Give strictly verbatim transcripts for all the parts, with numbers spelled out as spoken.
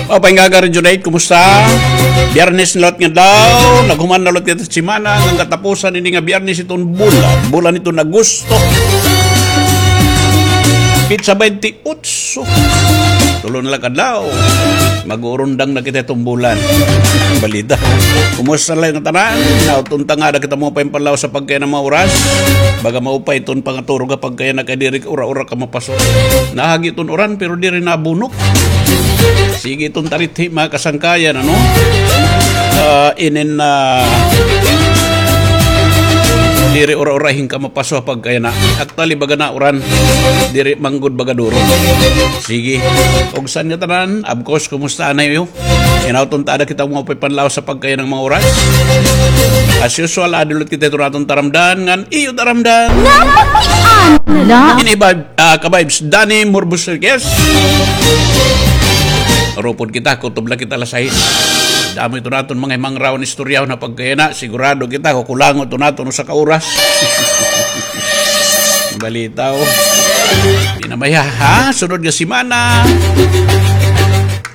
Maupay nga aga, Regionate, kumusta? Biyernes na liwat nga adlaw, naghuman na liwat kita semana, nga katapusan ini nga Biyernes iton bulan, bulan iton Agosto. Pitsa baynte otso. Tulo na la ka adlaw. Mag-uurundang na kita iton bulan. Balita. Kumusta la nga tanan? Nauton ta nga ada kita maupay nga panlawas ha pagkaiyan nga mga oras. Baga maupay iton pangaturog ha pagkaiyan nga kay diri ura-ura ka mapaso. Nahagi iton uran pero diri nabunok. Sige iton tarithi, mga kasangkayan, ano? Ah, inin na diri ura-ura hin ka mapaso ha pagkaiyan nga. Actually, baga nauran. Diri man gud baga duro. Sige. Ug sa inyo tanan, of course, kumusta na iyo? Hinaot unta ada kita maupay panlawas ha pagkaiyan nga mga oras. As usual, adi liwat kita iton aton taramdan, ngan iyo taramdan. Napakiana. Ini ba, ah, ka-vibes, Danny Morbos Enriquez. Arupod kita, kutob la kita alas sais. Damo iton aton mga himangraw nga istoryahon ha pagkaiyan nga, sigurado kita, kukulangon iton aton usa ka oras. Balita, o. Di na maya, ha? Sunod nga semana.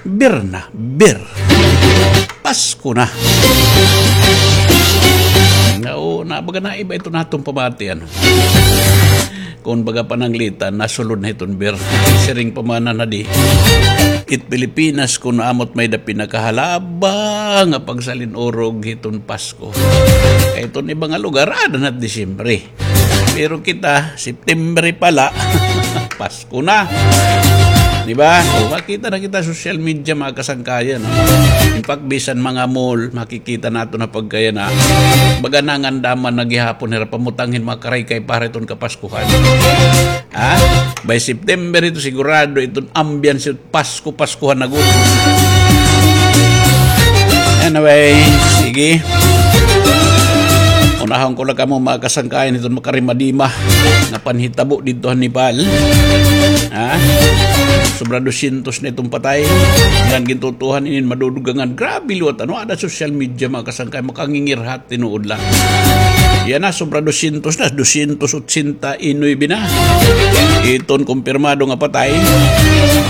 Ber na, ber. Pasko na. Nga, o, na, baga naiba iton aton pamati, ano. Kon baga pananglitan, nasulod na iton ber. Siring pa man na di. It Pilipinas, kon amo it may-ada pinakahalaba nga pagsalin-urog hiton Pasko. Kay iton iba nga lugar, ada na it Disyembre. Pero kita, September pa la, Pasko na. Di ba? O, makita na kita social media, mga kasangkayan, no? In fact, bisan mga mall, makikita naton ha pagkaiyan nga baga nangandaman na gihapon hira pamutang hin mga karaykay para hiton Kapaskuhan. Ha? By September ito, sigurado iton ambiance Pasko-Paskuhan na gud. Anyway, sige. Unahon ko la kamo, mga kasangkayan, hiton makarimadima nga panhitabo didto ha Nepal. Ha? Sobra dosyentos na iton patay. Ngan gintutuohan inin madudugangan. Grabe liwat, ano, ada social media, mga kasangkayan, makangingirhat. Tinuod la. Yana, sobra dosyentos na, dosyentos otsenta y nuebe na iton kumpirmado nga patay.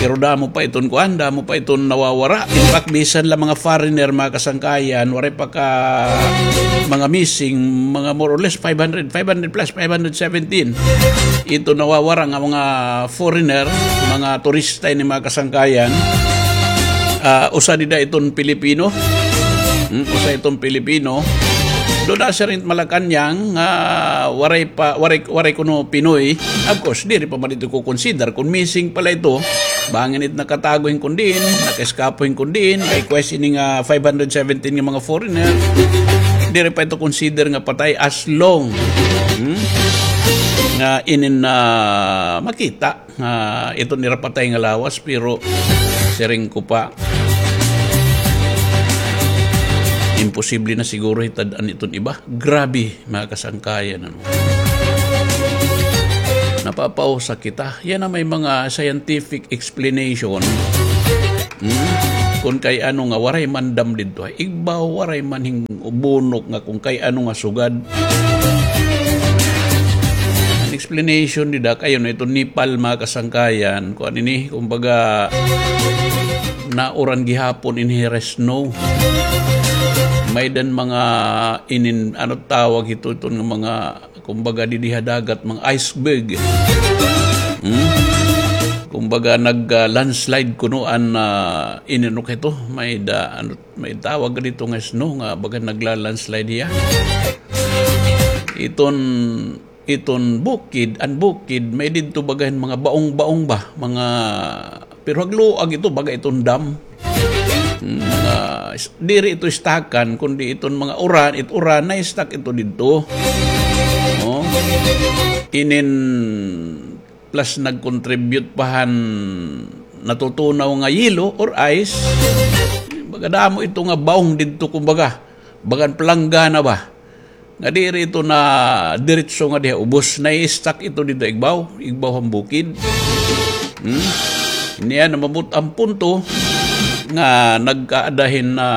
Pero damo pa iton kuan, damo pa iton nawawara. In fact, bisan la mga foreigner, mga kasangkayan, waray pa ka mga missing, mga more or less five hundred, five hundred plus, five hundred seventeen. Iton nawawara nga mga foreigner, mga turista ini, mga kasangkayan. Ah, usa dida iton Pilipino. Hmm, usa iton Pilipino. Dida siring Malacañang, ah, waray pa, waray, waray kuno Pinoy. Of course, diri pa man ito ko-consider kon missing pa la ito. Bangin it nakatago hin kon diin, nakaeskapo hin kon diin, kay question ini nga five hundred seventeen nga mga foreigner. Diri pa ito consider nga patay as long, hmm, nga inin na makita nga iton ira patay nga lawas, pero siring ko pa, imposible na siguro hitad-an iton iba. Grabe, mga kasangkayan, ano. Napapausa kita. Yana may mga scientific explanation. Hmm? Kon kay ano nga waray man dam didto ha igbaw, waray man hin bunok nga kon kay ano nga sugad. An explanation dida kay ano, iton Nepal, mga kasangkayan, kuan ini, kumbaga, nauran gihapon ini hira snow. May-ada mga inin, ano tawag hito, iton nga mga, kumbaga, didi ha dagat, mga iceberg. Hmm? Kumbaga, nag, ah, landslide kuno an, ah, inin, ano hito, may-ada, ano, may tawag didto nga snow nga baga nagla-landslide hiya. Iton, iton bukid, an bukid, may didto baga hin mga baong-baong ba, mga, pero hagluag ito, baga iton dam. Hmm, mga, diri ito istakan, kundi iton mga uran, it uran, na-stuck ito didto. O, inin, plus nag-contribute pa han natutunaw nga yelo or ice. Baga damo ito nga baong didto, kumbaga, bagan palanggana ba. Nga diri ito nadiretso nga diha ubos, na-stuck ito didto igbaw, igbaw han bukid. Hmm? Niya namabot an punto nga nagkaada hin na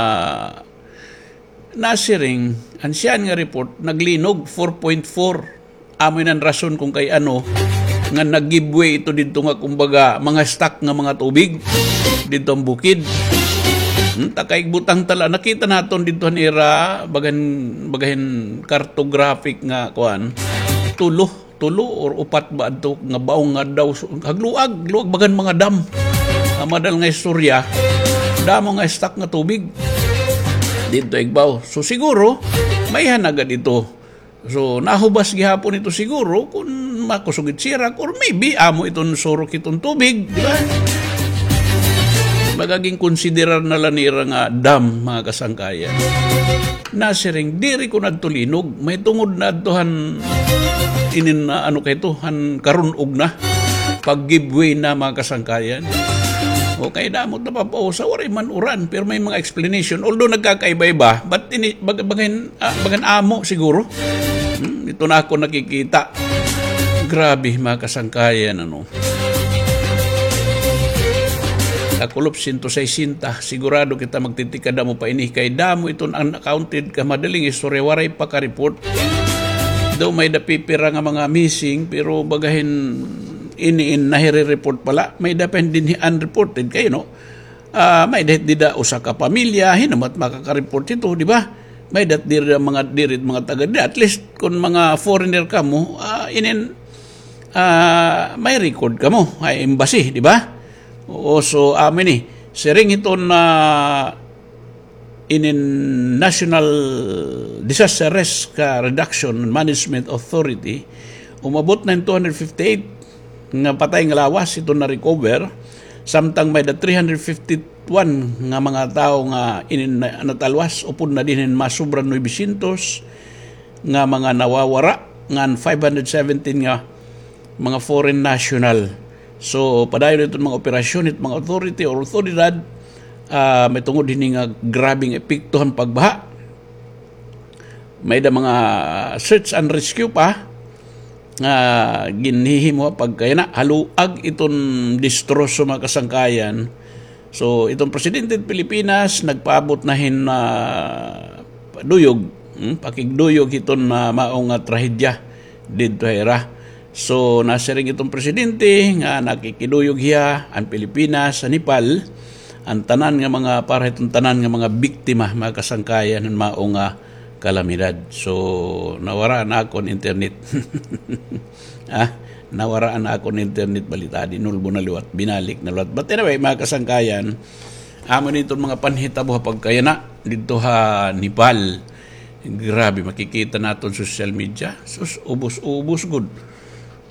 nasiring, an siyahan nga report, naglinog, four point four. Amo ini an rason kon kay ano, nga nag-give way ito didto nga, kumbaga, mga stuck nga mga tubig didto an bukid. Hmm, ta kay igbutang ta la, nakita naton didto han ira, bagan, bagahin cartographic nga, kuan, tulo, tulo or upat ba adto nga baong nga daw, so, hagluag, luag, bagan mga dam. Ang madal nga istorya, damo nga stock nga tubig didto Igbaw. So, siguro, may hanagad ito. So, nahubas gihapon ito siguro kun makusog it sirak, or maybe amo iton surok iton tubig, di ba? Magaging konsiderar na la nira nga dam, mga kasangkayan. Nasiring, diri ko na adto linog, may tungod na adto han inin, ah, ano kay ito, han karun-og na. Pag-give way na, mga kasangkayan. Okay, damo it napapausa, waray man uran, pero may mga explanation. Although nagkakaiba-iba, but ini, bag-, bagahin, ah, bagan amo siguro. Hmm, ito na ako nakikita. Grabe, mga kasangkayan, ano. Kakulop, sento sesenta. Sigurado kita magtitikada mo pa ini kay damo iton unaccounted ka madaling istorya, waray pa ka-report. Daw may-ada pipira nga mga missing, pero bagahin ini in nahire-report pala. May-ada pa dinhi unreported kayo, no? Ah, may-ada dida usa ka pamilya, hinumat makaka-report ito, di ba? May-ada diri mga, diri mga taga dida. At least, kung mga foreigner kamo, ah, inin, ah, may record kamo, ay embassy, di ba? Oo, so, amo ini. Siring iton na inin National Disaster Risk, ah, Reduction and Management Authority, umabot na in two hundred fifty-eight nga patay nga lawas iton na-recover, samtang may-ada three hundred fifty-one nga mga tawo nga inin na-, natalwas, upod na dinhi in mga sobra nuebe syentos nga mga nawawara, ngan five hundred seventeen nga mga foreign national. So, padayon iton mga operasyon, it mga authority or awtoridad, ah, may tungod hini nga grabeng epekto han pagbaha. May-ada mga search and rescue pa nga ginhihimo pagkayana, haluag iton distroso, mga kasangkayan. So, iton presidente hit Pilipinas, nagpaabot na hin, ah, duyog, hmm, pakigduyog hiton, ah, mao nga trahedya didto ha ira. So, nasiring iton presidente nga nakikiduyog hiya, an Pilipinas, an Nepal, an tanan nga mga, para hiton tanan nga mga biktima, mga kasangkayan, han mao nga kalamidad. So, nawara an akon internet. Ah, nawara an akon internet, balita, dinulbo na liwat, binalik na liwat. But anyway, mga kasangkayan, amo ini iton mga panhitabo ha pagkayana didto ha Nepal. Grabe, makikita naton social media. Sus, ubos-ubos gud.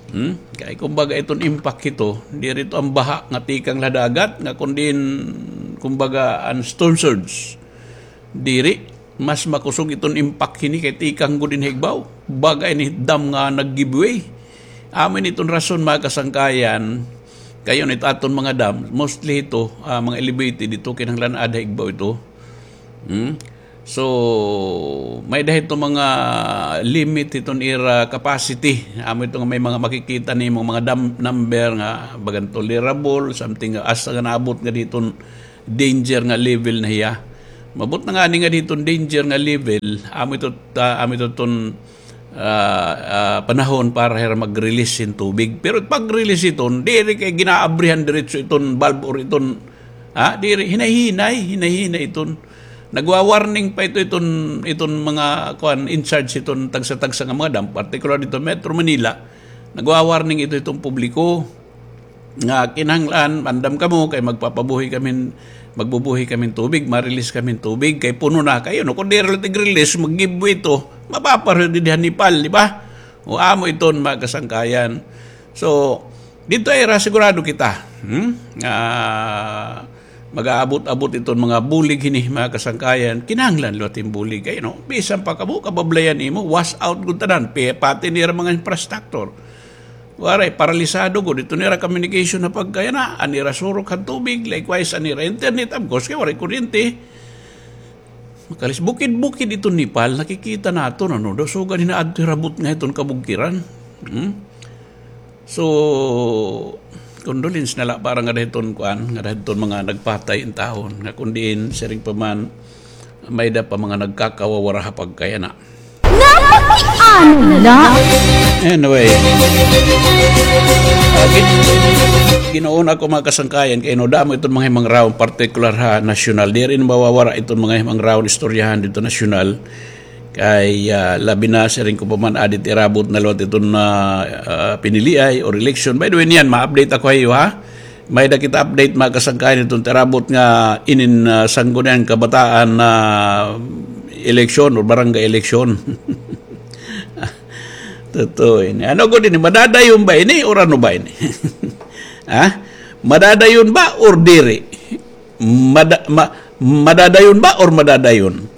Hmm? Kay kumbaga iton impact hito, diri ito an baha nga tikang la dagat, nga kun diin, kumbaga, an storm surge. Diri, mas makusog iton impact hini kay tikang gud dinhi ha igbaw. Baga ini dam nga nag-give way. Amo ini iton rason, mga kasangkayan, kay it aton mga dam, mostly ito, ah, mga elevated ito, kinahanglan aada ha igbaw ito. Hmm? So, may-ada hito mga limit hiton ira capacity. Amo ito nga may mga makikita nimo mga dam number nga bagan tolerable, something nga asa nga naabot nga diton danger nga level na hiya. Maabot na ngani nga diton danger nga level, amo ito, ah, amo ito iton, ah, ah, panahon para hira mag-release hin tubig. Pero pag-release iton, diri kay ginaabrihan diretso iton valve or iton, ha, diri, hinay-hinay, hinay-hinay iton. Nagwa-warning pa ito, iton, iton mga, kuan, in charge hiton tagsa-tagsa nga mga dam, particular didto Metro Manila. Nagwa-warning ito hiton publiko nga kinahanglan, andam kamo kay magpapabuhi kami, magbubuhi kami hin tubig, ma-release kami hin tubig, kay puno na kayo, no? Kun diri la tig-release, mag-give way ito, mapapareho dinhi ha Nepal, di ba? O amo iton, mga kasangkayan. So, didto ha ira sigurado kita, hmm? Ah, mag-aabot-abot iton mga bulig hini, mga kasangkayan. Kinahanglan liwat hin bulig kay, no? Bisan pa kamo, kabablayan nimo, wash out gud tanan, pi-, pati nira mga infrastructure. Waray, paralisado gud iton ira communication ha pagkayana, an ira surok han tubig, likewise an ira internet, of course, kay waray kuryente. Makalis, bukid-bukid iton Nepal, nakikita naton, ano, daw sugad hinaadto hira butnga hiton kabugkiran. Hmm? So, condolence na la para ngada hiton, kuan, ngada hiton mga nagpatay intawon, nga kun diin, siring pa man, may-ada pa mga nagkakawawara ha pagkayana. Napakiano la. Anyway. Ah, gin-, gin-una ko, mga kasangkayan, kay no, damo iton mga himangrawon, partikular ha nasyonal. Diri mawawara iton mga himangrawon, istoryahan didto nasyonal. Kay, ah, labi na, siring ko pa man, adi it irabot na liwat iton, ah, ah, piniliay or election. By the way, niyan, ma-update ako ha iyo, ha? May-ada kita update, mga kasangkayan, iton it irabot nga inin, ah, Sangguniang Kabataan na eleksyon or barangay eleksyon. Totoo ini. Ano gud ini? Madadayon ba ini or ano ba ini? Ha? Madadayon ba or diri? Mada-, ma-, madadayon ba or madadayon?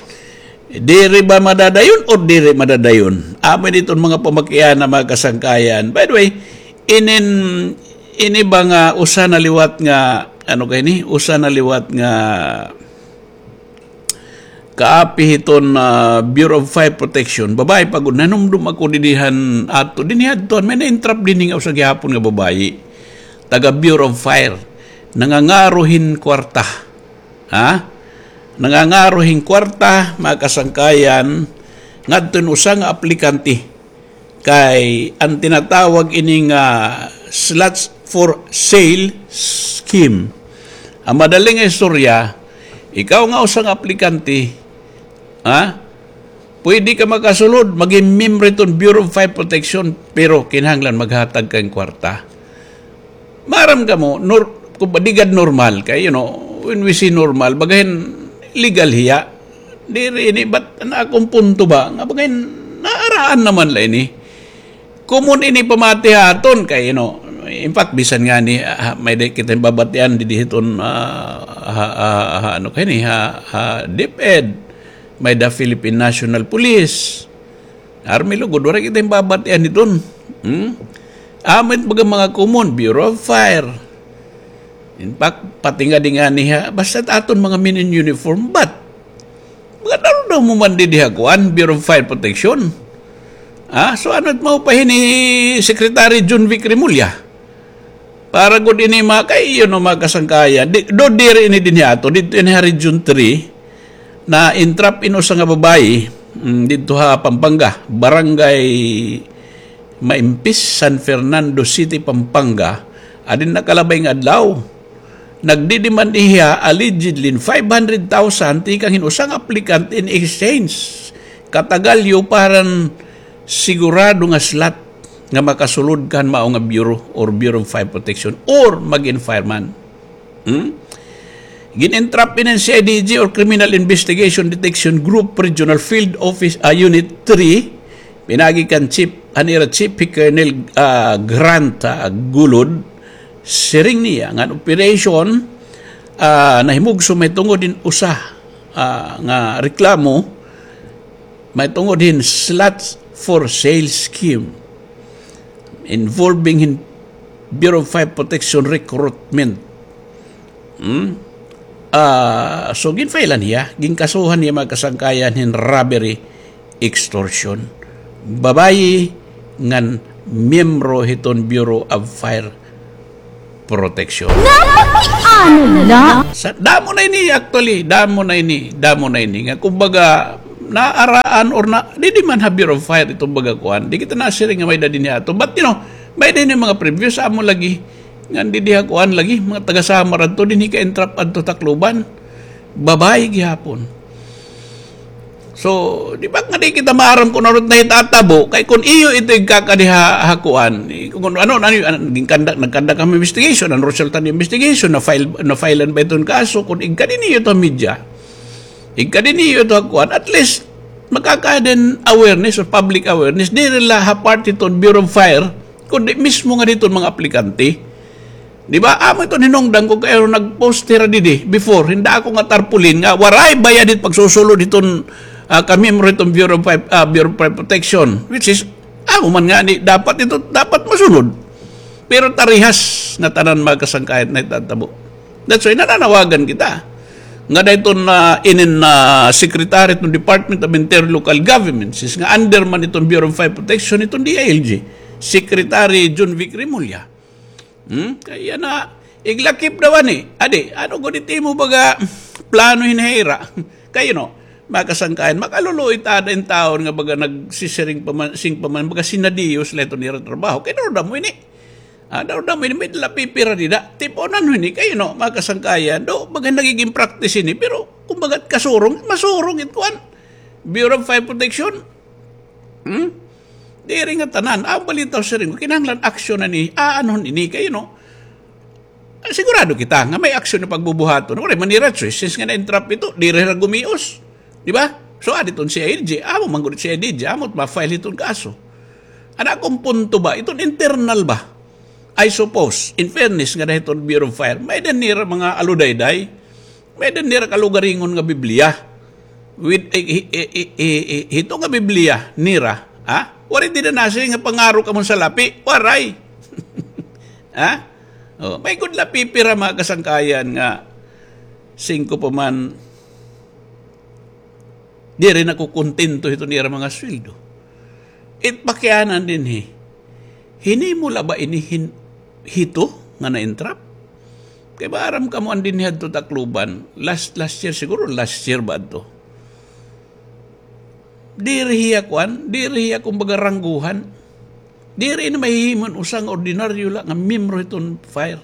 Diri ba madadayon or diri madadayon? Amo ini iton mga pamakiana, mga kasangkayan. By the way, inin, ini ba nga usa na liwat nga, ano kay ni? Usa na liwat nga kaapi hiton, ah, Bureau of Fire Protection. Babayi pa gud, nanumdom ako didi han ato, dinhi hadto, may na-entrap dinhi nga usa gihapon nga babayi. Taga Bureau of Fire. Nangangaro hin kwarta. Ha? Nangangaro hin kwarta, mga kasangkayan, ngadto hin usa nga aplikante. Kay an tinatawag ini nga slots for sale scheme. An madali nga istorya, ikaw nga usa nga aplikante, ha? Pwede ka makasulod, maging miyembro hiton Bureau of Fire Protection, pero kinahanglan maghatag ka hin kwarta. Maaram kamo, nor-, kung ba, di gad normal kay, you know, when we say normal, baga hin legal hiya. Diri ini, but an akon punto ba, nga baga hin naaraan naman la ini. Common ini pamati ha aton kay, you know, in fact, bisan ngani, ah, may-ada kita hin babatian didi hiton, ah, ha, ha, ha, ano kay ni, ha, ha DepEd, may-ada Philippine National Police. Army lugod, waray kita hin babatian hiton. Hmm? Amo it baga mga common, Bureau of Fire. In fact, pati ngadi ngani ha, basta it aton mga men in uniform, but mga daw-daw mo man didi ha kuan, Bureau of Fire Protection. Ah, so ano it mao pa hini Secretary John Vic Remulla? Para gud ini, mga kay, you know, mga kasangkayan. Di, do diri ini dinhi ato, didto ini ha Region three, na-entrap in usa nga babayi, mm, didto ha Pampanga, Barangay Maimpis, San Fernando City, Pampanga, adin nakalabay nga adlaw. Nagdidemand hiya allegedly hin five hundred thousand tikang hin usa nga applicant in exchange katagalyo para hin sigurado nga slot nga makasulod kan mao nga bureau or Bureau of Fire Protection or mag-in fireman. Hmm? Gin-entrap ini hin C I D G or Criminal Investigation Detection Group Regional Field Office, ah, Unit three, pinaagi kan chief, an ira chief hi Colonel, ah, Grant, ah, Gulod, siring niya nga an operation, ah, nahimugso mahitungod hin usa, ah, nga reklamo, mahitungod hin slots for sale scheme involving hin Bureau of Fire Protection recruitment. Hmm? Ah, so, ginfailan hiya, ginkasuhan hiya, mga kasangkayan, hin robbery, extortion. Babayi ngan miyembro hiton Bureau of Fire Protection. Napakiano la. Sa, damo na ini, actually, damo na ini, damo na ini. Nga, kumbaga, naaraan or na, didi man ha Bureau of Fire iton baga kuan. Di kita nasiring nga may-ada dinhi ato. But, you know, may-ada ini mga previous, amo lagi. Ngan didi ha kuan lagi, mga taga Samar adto, dinhi ka-entrap adto Tacloban. Babayi gihapon. So, di ba nga di kita maaram kung ano it nahitatabo, kay kung iyo ito igkakadi ha, ha kuan, eh, kung ano, ano, ano, ano, ginkandak-, nagkandak kami investigation, an resulta hin investigation, na-file, na-filean ba iton kaso, kung igkadi niyo ito ha media, igkadi niyo ito ha kuan, at least, makakaada hin awareness or public awareness, diri la ha parte iton Bureau of Fire, kundi mismo ngadi iton mga aplikante. Di ba? Amo iton hinungdan ko kay nag-post hira didi before, hin dako nga tarpaulin nga waray bayad it pagsusulod hiton, ah, kamiyembro hiton Bureau of Fire, ah, Bureau of Fire Protection, which is, amo man ngani, dapat ito, dapat masunod. Pero tarihas nga tanan, mga kasangkayan, nahitatabo. That's why nananawagan kita. Ngada iton, ah, inin, ah, Secretary iton Department of Interior Local Government, since nga under man iton Bureau of Fire Protection, iton D I L G, Secretary John Vic Remulla. Hmm? Kay yana, iglakip daw ani. Adi, ano gud it imo baga plano hin ha ira? Kay, you know, Mga kasangkayan, makaluluoy ta ada in tawo nga baga nagsisiring pa man, sing pa man, baga sinadiyos la iton ira trabaho. Kay daw damo ini. Ah, daw damo ini, may dala pipira dida. Tip-onan ho ini kay, no, mga kasangkayan. Do, baga nagiging practice ini, pero kumbaga kasurong, masurong it kuan. Bureau of Fire Protection. Hmm? Diri nga tanan. Ang balita siring, kinahanglan aksyon na ni, aanhon ini kay, no. Ah, sigurado kita nga may aksyon na pagbubuhaton. Waray man nira choice, since nga na-entrap ito, diri ra gumios. Di ba? So, adi iton C I D G, amo man gud C I D G, amo ma-file iton kaso. An akon punto ba, iton internal ba? I suppose, in fairness nga na iton Bureau of Fire, may-ada nira mga aludayday, may-ada nira kalugaringon nga Biblia. With, eh, eh, hito nga Biblia nira, ha? Waray dida nasiring nga pangaro kamo sa lapi, waray. Ha? Oh, may gud la pipira mga kasangkayan nga singko pa man, diri nakukontento hiton ira mga sweldo. It pakiana dinhi, hinimo la ba ini hin-, hito nga na-entrap? Kay maaram kamo an dinhi hadto Tacloban, last, last year siguro, last year ba adto? Diri hiya kuan, diri hiya kumbaga rangguhan. Diri ini mahihimo hin usa nga ordinaryo la nga miyembro hiton fire.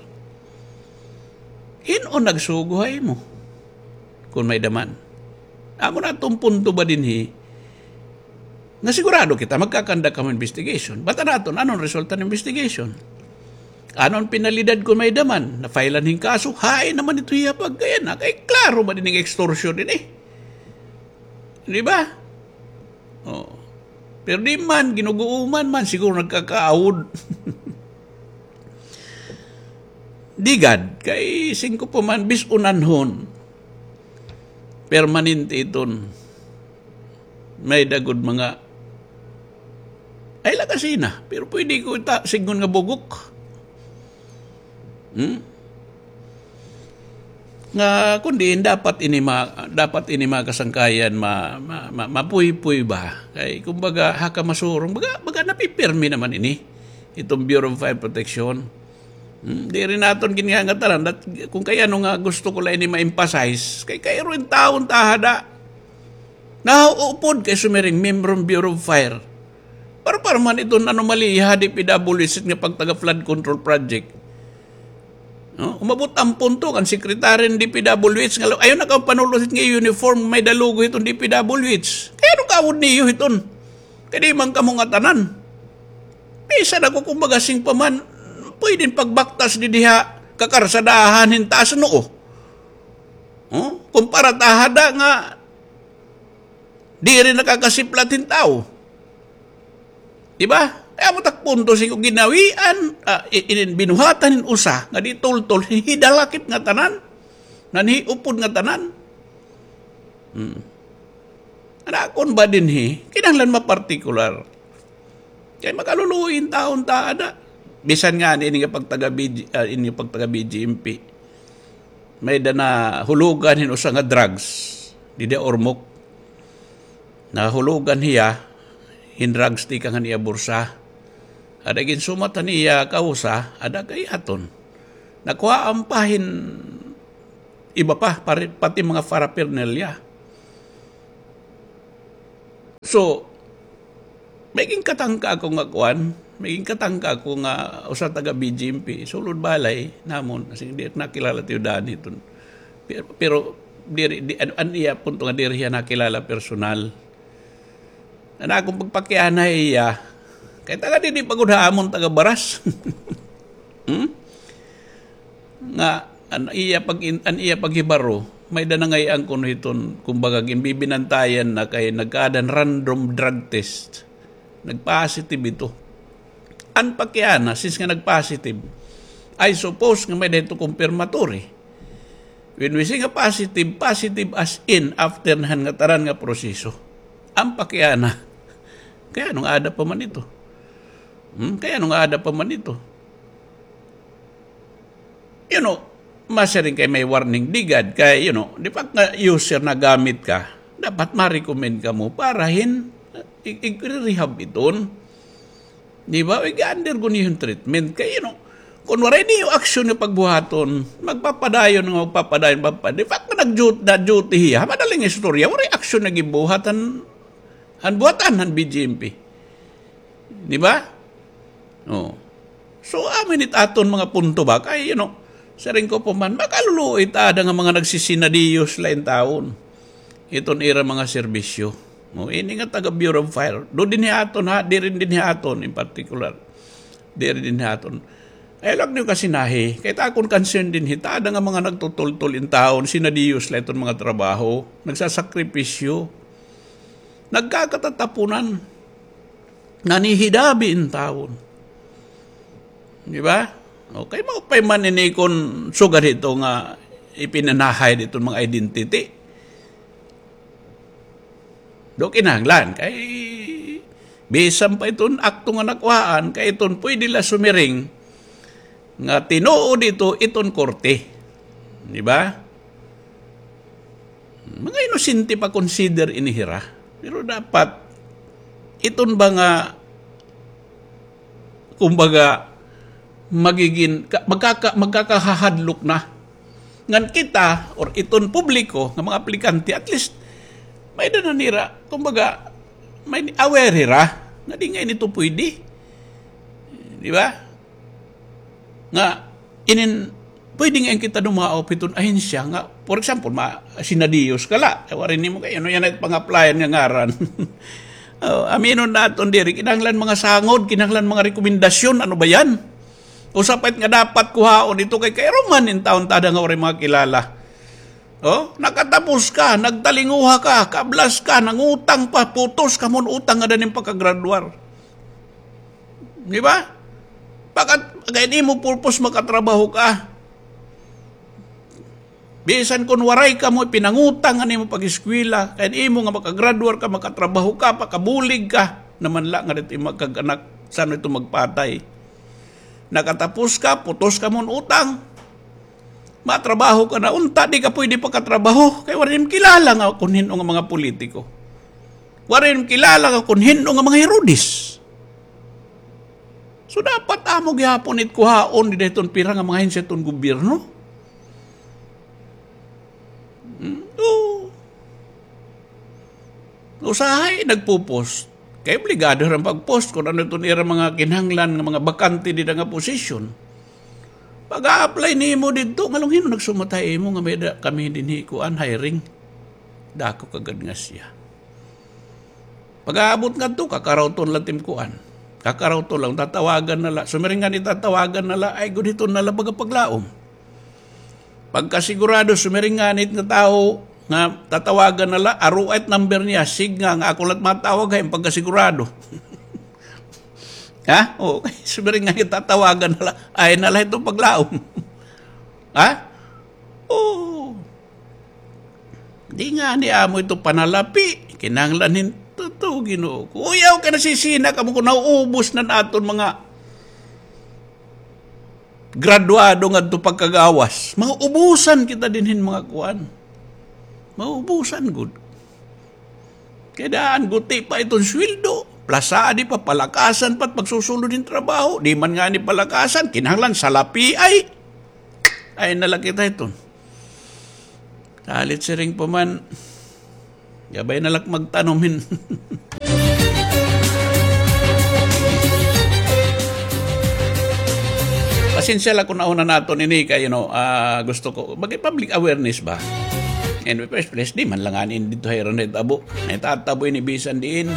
Hin-o nagsugo ha imo? Kon may-ada man. Amo na aton punto ba dinhi? Nga sigurado kita magkakandak kamo investigation. Bata naton, ano an resulta hin investigation? Ano an penalidad kon may-ada man? Na-file-an hin kaso, hain naman ito hiya pagkayana. Kay klaro ba dinhi nga extortion ini? Di ba? Oh. Pero di man, ginuguuman man, siguro nagkakaawod. Di gad, kay singko pa man, bis-on anhon. Permanente iton. May-ada gud mga, ay, la kasina, pero pwede ko ita-, sidngon nga bugok. Hmm? Nga, kundi dapat ini ma-, dapat ini mga kasangkayan ma-, ma-, ma-, mapuypoy ba? Kay, kumbaga, ha ka masurong, baga, baga napipirmi naman ini. Iton Bureau of Fire Protection. Hmm, diri naton gingangatanan. Dat-, kon kay ano nga gusto ko la ini ma-emphasize, kay kairo in tawo nga tahada. Nahaupod kay sumiring, miyembro hin Bureau of Fire. Para, para man iton anomalya ha D P W H nga pagtaga flood control project. No? Umabot an punto kan secretary hin D P W H nga, "Ayaw na kamo panulod hit nga uniform, may-ada logo hiton D P W H." Kay ano kaawod niyo hiton? Kay di man kamo ngatanan. Bisan ako, kumbaga, sing pa man, pwede pagbaktas didi ha kakarsadahan hin taas noo. Oh? Kumpara tahada nga diri nakakasiplat hin tawo. Di ba? Kay amo tak punto, sing ko ginawian, ah, i-, inin binuhatan hin usa, nga di tultol, hidalakip ngatanan, nanhiupod ngatanan. Hmm. An akon ba dinhi, kinahanglan mapartikular. Kay makaluluoy in tawo nga tahada. Bisan ngani ini nga pagtaga B G, ah, ini pagtaga B G M P. May-ada nahulogan hin usa nga drugs. Didi ha Ormoc. Nahulogan hiya hin drugs tikang han iya bursa. Ada ginsumat han iya kausa, ada kay aton. Nakuhaan pa hin iba pa, pari-, pati mga paraphernalia. So, may ginkatangka ako nga kuan, may ginkatangka ako nga usa taga B G M P, sulod balay namon, as in, di nakilala tiyo daan hiton. Pero, pero diri, di, an, an iya punto nga diri hiya nakilala personal. An akon pagpakiana ha iya, kay taga didi pa gud ha amon, taga Baras. Hmm? Nga an iya pag-, an iya paghibaro, may-ada na ngay-an kuno hiton, kumbaga, ginbibinantayan na kay nagkaada hin random drug test. Nag-positive ito. An pakiana, since nga nag-positive, I suppose nga may-ada hito confirmatory. When we say nga positive, positive as in after na han ngatanan nga proseso. An pakiana, kay ano nga aada pa man ito? Hmm? Kay ano nga aada pa man ito? You know, masiring kay may warning, di gad kay, you know, di ba nga user, nagamit ka, dapat ma-recommend kamo para hin, i-, i-rehab iton. Di ba? Ig-undergo niyo hin treatment. Kay, you know, Kon waray niyo aksyon nga pagbuhaton, magpapadayon nga magpapadayon, magpapadayon. In fact, nga nag-duty, nag-duty hiya, madaling istorya, waray aksyon nga gibuhat han, han buhatan, han B J M P. Di ba? Oh. So, amo ini it aton mga punto ba? Kay, you know, siring ko pa man, makaluluoy ta ada nga mga nagsisinadiyos la intawon. Iton ira mga serbisyo. Oh, ini nga taga Bureau of Fire. Do dinhi aton, ha? Diri dinhi aton in particular. Diri dinhi aton. Ayaw la niyo kasinahi. Kay it akon concern dinhi, ta ada nga mga nagtutultol intawon, sinadiyos la iton mga trabaho. Nagsasakripisyo. Nagkakatatapunan. Nanhihidabi intawon. Di ba? Okay, maupay man ini kon sugad hito nga ipinanahay diton mga identity. Do kinahanglan, kay bisan pa iton akto nga nakuhaan, kay iton pwede la sumiring nga tinuod ito iton korte. Di ba? Mga inosente pa consider ini hira. Pero dapat, iton ba nga, kumbaga, magigin-, ka-, magkaka-, magkakahahadlok na. Ngan kita, or iton publiko, nga mga aplikante, at least, may-ada na nira, kumbaga, may aware hira, nga di ngay-an ito pwede. Di ba? Nga, inin, pwede ngay-an kita dumaop hiton ahensya nga, for example, ma-, sinadiyos ka la. Ay, waray nimo kay, ano yana it pang-applyan nga ngaran? Oh, aminon naton diri, kinahanglan mga sangod, kinahanglan mga rekomendasyon, ano ba yan? Usa pa it nga dapat kuhaon ito kay kairuman intawon ta ada nga waray mga kilala. Oh, nakatapos ka, nagtalinguha ka, kablas ka, nangutang pa, putos ka man utang nga ada nim pagkagraduar. Di ba? Pagkat, kay imo purpose makatrabaho ka. Bisan kon waray kamo ipinangutang an imo pag-eskwela, kay imo nga makagraduar ka, makatrabaho ka, pakabulig ka, naman la nga dito imo kag-anak, sano ito magpatay. Nakatapos ka, putos ka man utang. Matrabaho ka na unta, di ka pwede pakatrabaho. Kay waray nim kilala nga kon hin-o nga mga politiko. Waray nim kilala nga kon hin-o nga mga Herodes. So, dapat amo gihapon it kuhaon dida hiton pira nga mga ahensya hiton gobyerno. Hmm, oo. Usahay nagpo-post. Kay obligado hira pag-post kon ano iton ira mga kinahanglan nga mga bakante dida nga posisyon. Pag-a-apply nimo didto, ngan hin-o nagsumat ha imo nga may-ada kami dinhi kuan, hiring. Dako kagad nga siya. Pag-aabot ngadto, kakarawton la tim kuan. Kakarawton la, tatawagan na la. Sumiring ngani tatawagan na la, ay gud hiton na la baga paglaom. Pagkasigurado, sumiring ngani it nga tawo nga tatawagan na la, aroa it number niya, sige nga, nga ako la it matawag, hay, pagkasigurado. Ha? O, sumiring ngani tatawagan na la, ay na la hiton paglaom. Ha? Oo. Di ngani amo ito panalapi. Kinahanglan hin-, tuto, Ginoo ko. Uyaw kay nasisina kamo kon nauubos na an aton mga graduado ngadto pagkagawas. Mauubusan kita dinhi hin mga kuan. Mauubusan gud. Kay daan guti pa iton sweldo. Plasadi pa, palakasan pa it pagsusulod hin trabaho. Di man ngani palakasan, kinahanglan salapi ay. Ay na la kita hiton. Kalit siring pa man. Gabay na la ak magtanom hin. Pasensya la kon nauna naton ini kay, you know, ah, gusto ko, bakit public awareness ba? In the first place, di man la ngani didto ha ira nahitabo. Nahitatabo ini bisan diin.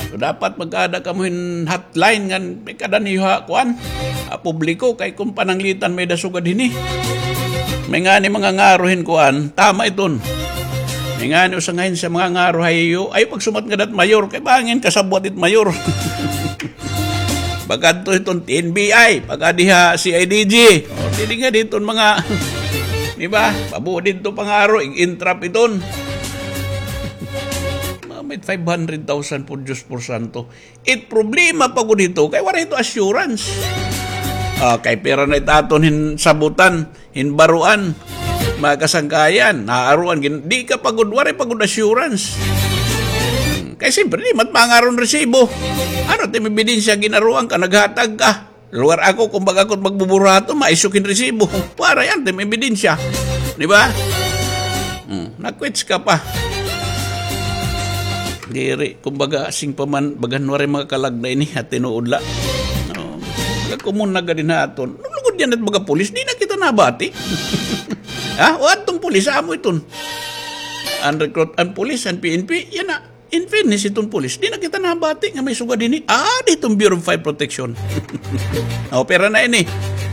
So, dapat mag-aada kamo hin hotline ngan may kada niyo ha, kuan, ha publiko, kay kon pananglitan may-ada sugad hini. May ngani mga ngaro hin kuan, tama iton. May ngani usa nga ahensya mga ngaro ha iyo, ay pagsumat ngada hit mayor, kay bangin kasabwat it mayor. Pagkadto hiton T N B I, pag-adi ha C I D G. O, diri ngani hiton mga, di ba? Pabo didto pangaro, ig-entrap iton. Mga may five hundred thousand po, Diyos por santo. It problema pa gud hito, kay waray hito assurance. Ah, kay pira na it aton hin sabutan, hin baruan, mga kasangkayan, naaruan, gin-, di ka pa gud, waray pa gud assurance. Hmm, kay siyempre, di man pangaron resibo. Ano, it im ebidensya, ginaruan ka, naghatag ka. Lugar ako, kumbaga, ako magbuburato, maisok in resibo. Para yan, tim ebidensya. Di ba? Hmm, nakwits ka pa. Diri, kumbaga, sing pa man, bagan waray mga kalag na ini, ha tinuod la. Oh, kakumon na gadi naton. Lugod yan at mga pulis, di na kita nabati. Ha? O, atong pulis, amo iton. An recruit, an pulis, an P N P, yan na. In fairness, iton pulis, di na kita nabati nga may sugad ini. Ah, diton Bureau of Fire Protection. O, pera na ini.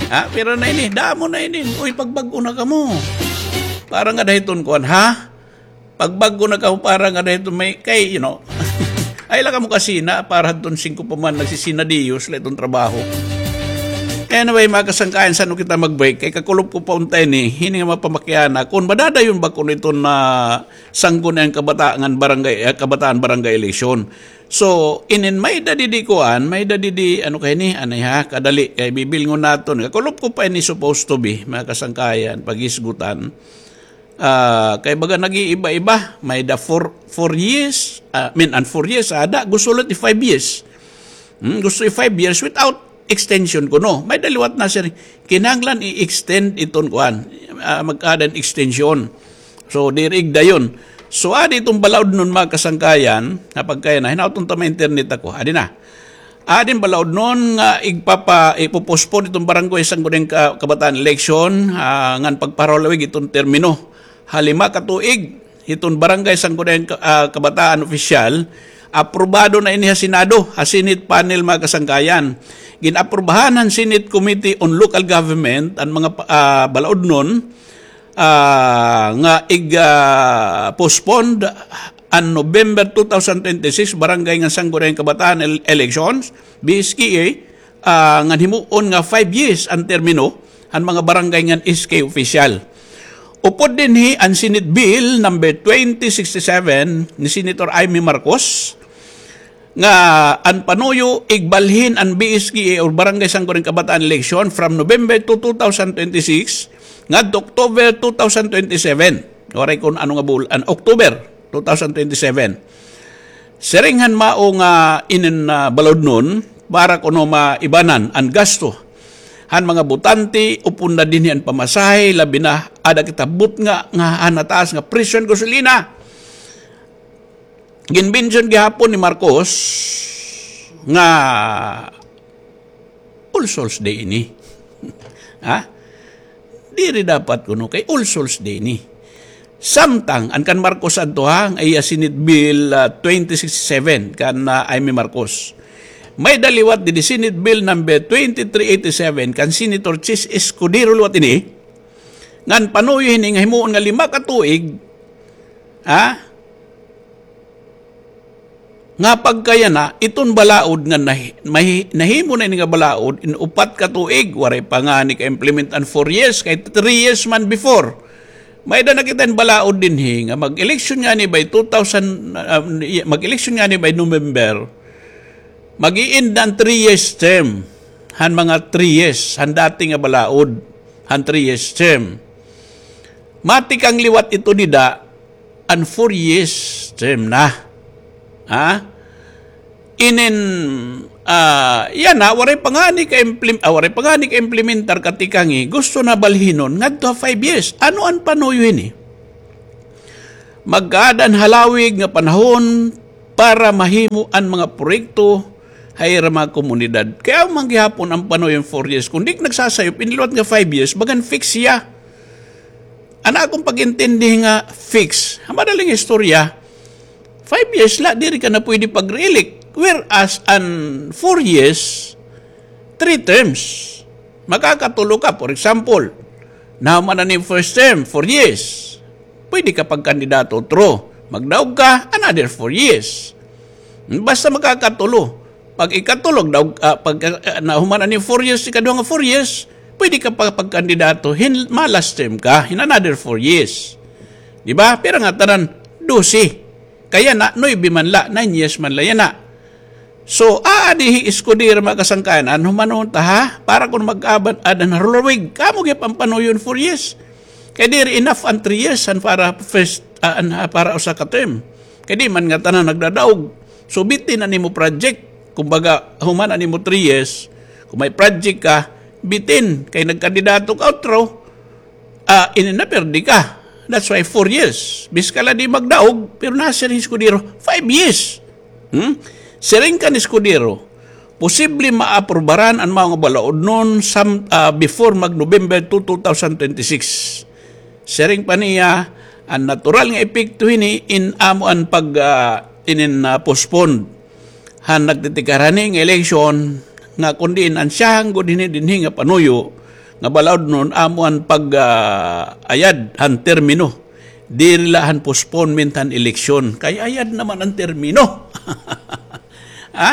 Ha? Pera na ini. Damo na ini. Uy, pagbag-o na kamo. Para nga dahiton kuan, ha? Pagbag-o na kamo, para nga dahiton may, kay, you know. Ay, la kamo kasina, para hadton singko pa man, nagsisina diyos, la iton trabaho. Anyway, mga kasangkayan, san-o kita mag-break? Kay kakulop ko pa unta ini, hini nga mapamakiana. Kun madadayon ba kuno iton na Sangguniang Kabataan barangay, eh, Kabataan barangay election. So, inin may-ada didi kuan, may-ada didi, ano kay ni, anay ha, kadali, kay bibilngon naton. Kakulop ko pa ini supposed to be, mga kasangkayan, paghisgutan. Ah, kay baga nag-iiba-iba, may-ada four, four years, ah, I mean, an four years, ada, gusto ulit i-five years. Hmm, gusto i-five years without extension kuno. May-ada liwat na, sir. Kinahanglan i-extend iton kuan. Ah, mag-add an extension. So, diri igdayon. So, adi iton balaod nun, mga kasangkayan, nga pagkaya na, hinaot unta may internet ako. Adi na. Adi an balaod nun nga igpapa-, ipopospon iton barangay sangguniang ka-, kabataan election, ah, ngan pagpahalawig iton termino. Ha lima ka tuig, iton barangay sangguniang ka-, ah, kabataan opisyal, aprobado na ini ha Senado, ha Senate panel, mga kasangkayan. Gin-aprobahan han Senate Committee on Local Government an mga pa-, ah, balaod nun, ah, nga ig, ah, postponed an November two thousand twenty-six barangay ngan sangguniang kabataan el-, elections, B S K A, ah, ngan himuon nga five years an termino han mga barangay ngan S K official. Upod dinhi an Senate Bill number twenty sixty-seven ni Senator Imee Marcos, nga an panuyo igbalhin an B S K A or Barangay Sangguniang Kabataan election from November to two thousand twenty-six ngadto October two thousand twenty-seven. Waray kun ano nga bul-, an October two thousand twenty-seven. Siring han mao nga inin, ah, balaod nun, para kuno maibanan an gasto han mga botante, upod na dinhi an pamasahe, labi na ada kita butnga nga han nataas nga presyo han gasolina. Ginmention gihapon ni Marcos nga all souls day ini. Ha? Diri dapat kuno kay all souls day ini. Samtang, an kan Marcos adto ha, an iya Senate Bill, ah, twenty sixty-seven, kan, ah, Imee Marcos. May-ada liwat didi Senate Bill number twenty-three eighty-seven, kan Senator Chiz Escudero liwat ini, ngan panuyo hini nga himuon nga lima ka tuig, ha? Nga pagkayana, iton balaod nga nahi-, mahi-, nahimo na ini nga balaod, in upat ka tuig, waray pa ngani ka-implement an four years, kay three years man before. May-ada na kita in balaod dinhi, nga mag-election ngani by two thousand, ah, mag-election ngani by November, mag-i-end na an three years term, han mga three years, han dati nga balaod, han three years term. Matikang liwat ito dida, an four years term na. Ha? Inin, ah, yana, waray pa ngani ka-implim-, ah, waray pa ngani ka-implementar katikangi, gusto na balhinon ngadto ha five years. Ano an panuyo hini? Magkaada an halawig nga panahon para mahimo an mga proyekto ha ira mga komunidad. Kay amo man gihapon an panuyo an four years. Kun di ka nagsasayop, in liwat nga five years, bagan fix hiya. An akon pag-intindi nga fix, ha madaling istorya, five years la, diri ka na pwede pag-re-elect. Whereas, an four years, three terms. Makakatulo ka, for example, nahuman na ni first term, four years. Pwede ka pagkandidato, true. Magdaog ka, another four years. Basta makakatulo. Pag ikatulo, daog, ah, pag, ah, nahuman na ni four years, ikaduha nga four years, pwede ka pa pagkandidato, hin-, ma-last term ka, hin another four years. Di ba? Pero nga, tanan, dose. Kay yana, nuebe man la, nine years man la yana. So, aadi hi Escudero, mga kasangkayan, an humanon ta, ha? Para kun mag-aban, adan halawig, kamo gihap an panuyo hin four years. Kay diri enough an three years, an para first, ah, an, ah, para usa ka term. Kay di man ngatanan nagdadaog. So, bitin an imo project. Kumbaga, human an imo three years, Kon may project ka, bitin, kay nagkandidato ka utro, ah, ini na perdi ka. That's why four years. Bisan ka la di magdaog, pero nasiring Escudero, five years. Hmm? Siring kan Escudero, posible maaprubaran an mga balaod noon sam-, ah, before mag November two, two thousand twenty-six. Siring pa niya, an natural nga epekto hini in amo an pag, ah, inin, ah, postpone han nagtitikar hani nga eleksyon, nga kon diin an siyahan gud hini dinhi nga panuyo nga balaod noon amo an pag, ah, ayad han termino. Diri la han postponement han eleksyon. Kay ayad naman an termino. Ha?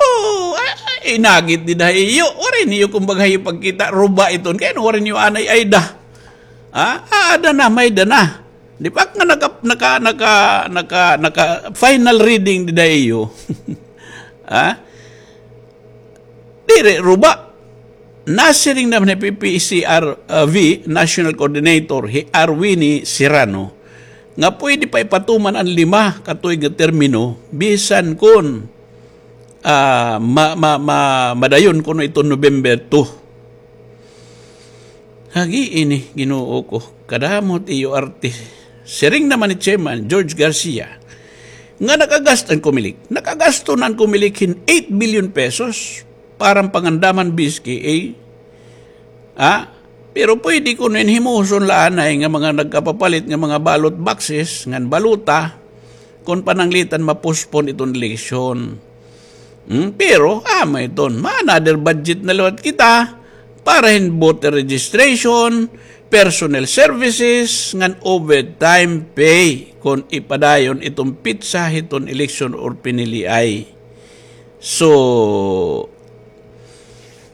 Oh, ah, ah, inagit dida ha iyo. Waray niyo kumbaga iyo pagkita, ruba iton. Kay ano waray niyo anay ayda? Ha? Ah, ada na, may da na. Di ba nga naka, naka, naka, naka, naka final reading dida ha iyo? Ha? Diri, ruba. Nasiring naman hi P P C R V National Coordinator, hi Arwini Serrano, nga pwede pa ipatuman an lima ka tuig nga termino, bisan kon, ah, ma-, ma-, ma-, madayon kuno iton November two. Hagi ini, Ginoo ko, kadamo it iyo arte. Siring naman ni Chairman George Garcia, nga nakagasto an Comelec. Nakagasto na an Comelec hin eight billion pesos para pangandam han B S K A. Ha? Pero pwede kuno in himuson la anay nga mga nagkapapalit nga mga ballot boxes, ngan balota, kon pananglitan ma-postpone iton eleksyon. Hmm, pero, ah, may ton, ma-another budget na liwat kita para hin voter registration, personnel services, ngan overtime pay kon ipadayon iton petsa hiton eleksyon or piniliay. So,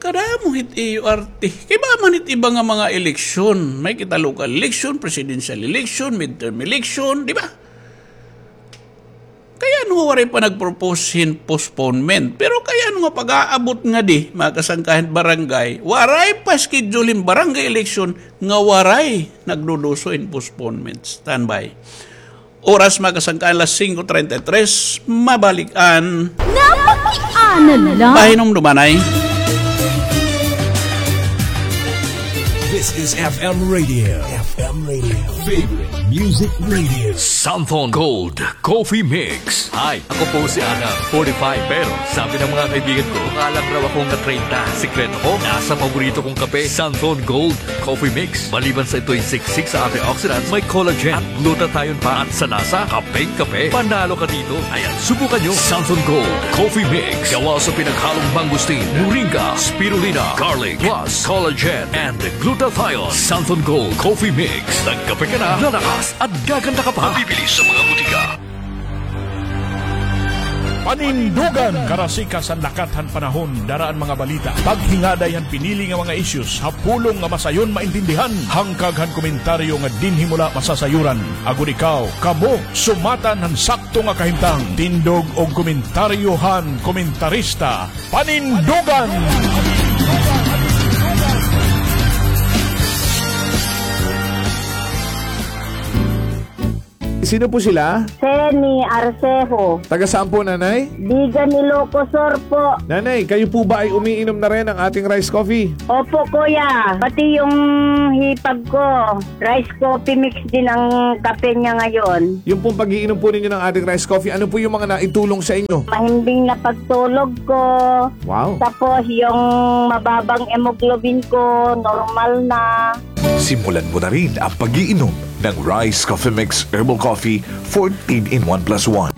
kadamo hit iyo arte. Kay ba man hit iba nga mga eleksyon? May kita local election, presidential election, midterm election, di ba? Kay ano nga waray pa nag-propose hin postponement? Pero kay ano nga pag-aabot ngadi, mga kasangkahan barangay, waray pa schedule hin barangay election nga waray nagduduso hin postponement. Standby. Oras, mga kasangkahan, alas singko treinta y tres, mabalik an Napakiana la. Pahinumduman. This is F M Radio. F M Radio. Favorite Music Radio. Santhon Gold Coffee Mix. Hi, ako po si Adam, forty-five. Pero sabi ng mga kaibigan ko, mukha lang raw akong na-treinta. Sikreto ko, nasa paborito kong kape, Santhon Gold Coffee Mix. Maliban sa ito'y siksik sa antioxidants, may collagen at glutathione pa. At sa lasa, kapeng-kape. Panalo ka dito. Ayan, subukan nyo. Santhon Gold Coffee Mix. Gawa sa pinaghalong mangosteen, moringa, spirulina, garlic, plus collagen and glutathione. Santhon Gold Coffee Mix. Nagkape ka na, lalakas at gaganda ka pa. Mabibili sa mga butika. Panindugan! Karasikas han lakat han panahon, dara an mga balita. Paghingaday han pinili nga mga issues ha pulong nga masayon maintindihan. Hangkag han komentaryo nga dinhi mo la masasayuran. Agod ikaw, kamo, sumatan han sakto nga kahimtang. Tindog og komentaryo han komentarista. Panindugan! Sino po sila? Seni Arcejo. Taga saan po, Nanay? Vigan, Ilocos Sur po. Nanay, kayo po ba ay umiinom na rin ng ating rice coffee? Opo, Kuya. Pati yung hipag ko, rice coffee mix din ang kape niya ngayon. Yung pong pag-iinom po ninyo ng ating rice coffee, ano po yung mga naitulong sa inyo? Mahimbing na pagtulog ko. Wow. Tapos yung mababang hemoglobin ko, normal na. Simulan mo na rin ang pag-iinom ng Rice Coffee Mix Herbal Coffee fourteen in one plus one.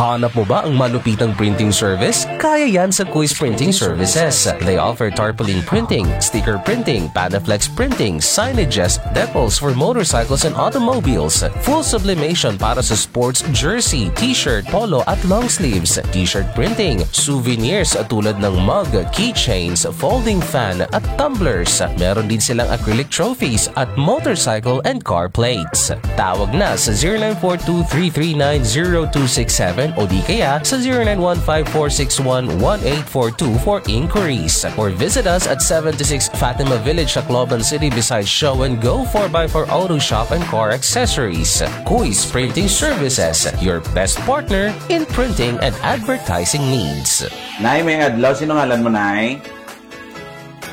Hanap mo ba ang malupitang printing service? Kaya yan sa Kuis Printing Services. They offer tarpaulin printing, sticker printing, Panaflex printing, signages, decals for motorcycles and automobiles, full sublimation para sa sports jersey, t-shirt, polo at long sleeves, t-shirt printing, souvenirs tulad ng mug, keychains, folding fan at tumblers. Meron din silang acrylic trophies at motorcycle and car plates. Tawag na sa zero nine four two three three nine zero two six seven o di kaya sa zero nine one five four six one one eight four two for inquiries. Or visit us at seventy-six Fatima Village, Tacloban City, beside Show and Go four by four Auto Shop and Car Accessories. Kuis Printing Services, your best partner in printing and advertising needs. Nay, may adlaw. Sino ngalan mo, Nay?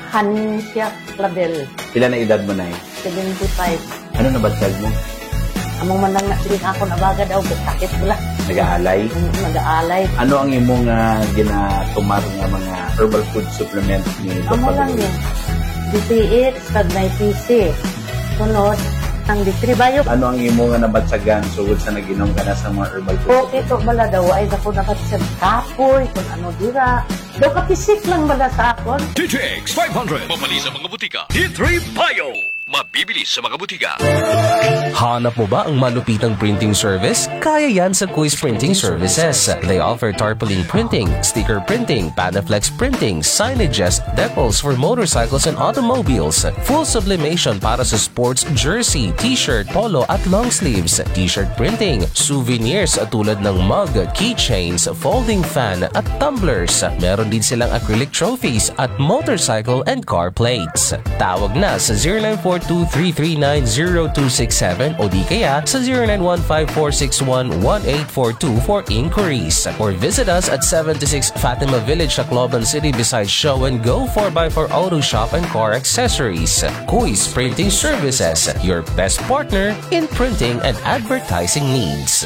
Hancia Clavel. Pila na edad mo, Nay? Seventy-five. Ano nabatyag mo? Amo man lang na, sige, ako na baga daw, sakit bala. Nag-aalay? Mm, nag-aalay. Ano ang imo nga ginatumar nga mga herbal food supplement ni Amo Doktor lang Luis? Yun. D T X, pag may P C. Sunod, ang D three Bio. Ano ang imo nga nabatyagan sugod sa nag-inom ka na sa mga herbal food? Okay, to bala daw, ay, ako nabatyag kapoy, kung ano dira. Daw kapisik lang bala sa akon. D T X five hundred. Mabibili sa mga butika. D three Bio. Mabibili sa mga butika. Hanap mo ba ang malupitang printing service? Kaya yan sa Quiz Printing Services. They offer tarpaulin printing, sticker printing, Panaflex printing, signages, decals for motorcycles and automobiles, full sublimation para sa sports jersey, t-shirt, polo at long sleeves, t-shirt printing, souvenirs tulad ng mug, keychains, folding fan at tumblers. Meron din silang acrylic trophies at motorcycle and car plates. Tawag na sa zero nine four two three three nine zero two six seven o di kaya sa zero nine one five four six one one eight four two for inquiries. Or visit us at seventy-six Fatima Village, Tacloban City, beside Show and Go four by four Auto Shop and Car Accessories. Kuis Printing Services, your best partner in printing and advertising needs.